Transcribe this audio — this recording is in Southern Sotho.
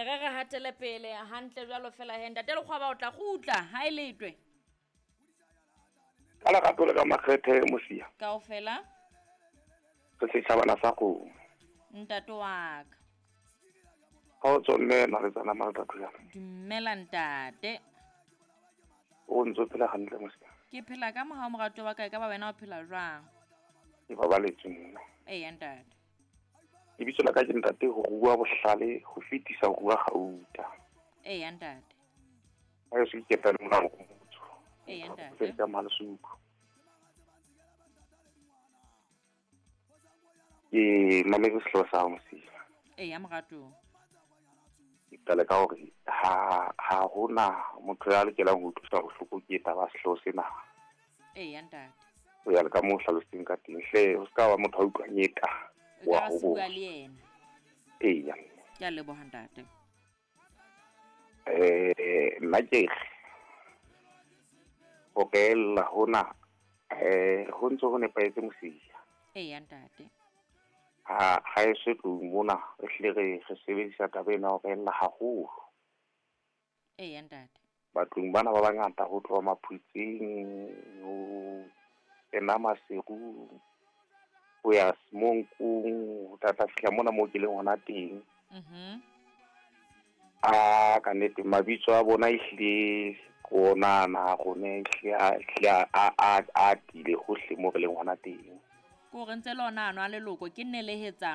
Re re hatele pele hantle jwalo fela he ntate Lekgwaba o tla kgutla ha e letwe. Ka lerato le ka makgethe Mosia. Kaofela. Re setjhabana sa kgomo. Ntate wa ka. Kgotso mme Naletsana Maltatuyana. Dumela ntate. O ntse o phela hantle Mosia? Ke phela ka mohau moratuwa wa ka, e ka ba wena o phela jwang? Ke babaletswe mme. Eya ntate. Lebitso la ka ke ntate ho rua bohlale ho fetisa ho rua gauta. Eya ntate. Ha e se ke ketane mona motho. Eya ntate. Ka Malesuku. Ke mametse sehlooho sa hao Mosia. Eya moratuwa. Ke qale ka hore ha ha hona motho ya lokelang ho utlwiswa bohloko ke taba ya sehlooho sena. Eya ntate. Ho ya le ka moo o hlalositseng ka teng. Hle ho ska ba motho a utlwang eka O wa ka ho se bua bua. le yena. Eya. Ke a leboha ntate. Nna ke re ho reella hona ho ntso ho nepahetse Mosia. Eya ntate. Ha ha e se tlung mona re hlile re re sebedisa taba ena ya ho reella haholo. Eya ntate. Batlong bana ba bangata ho tloha Maphutseng ho kena Maseru ho ya Semonkong ho tla fihla mona moo ke leng hona teng. A ka nnete mabitso a bona ehlile ke ona ana a rona ehlile a ehlile a a a atile hohle moo re leng hona teng. Ke hore ntse le ona ano a leloko ke nelehetsano.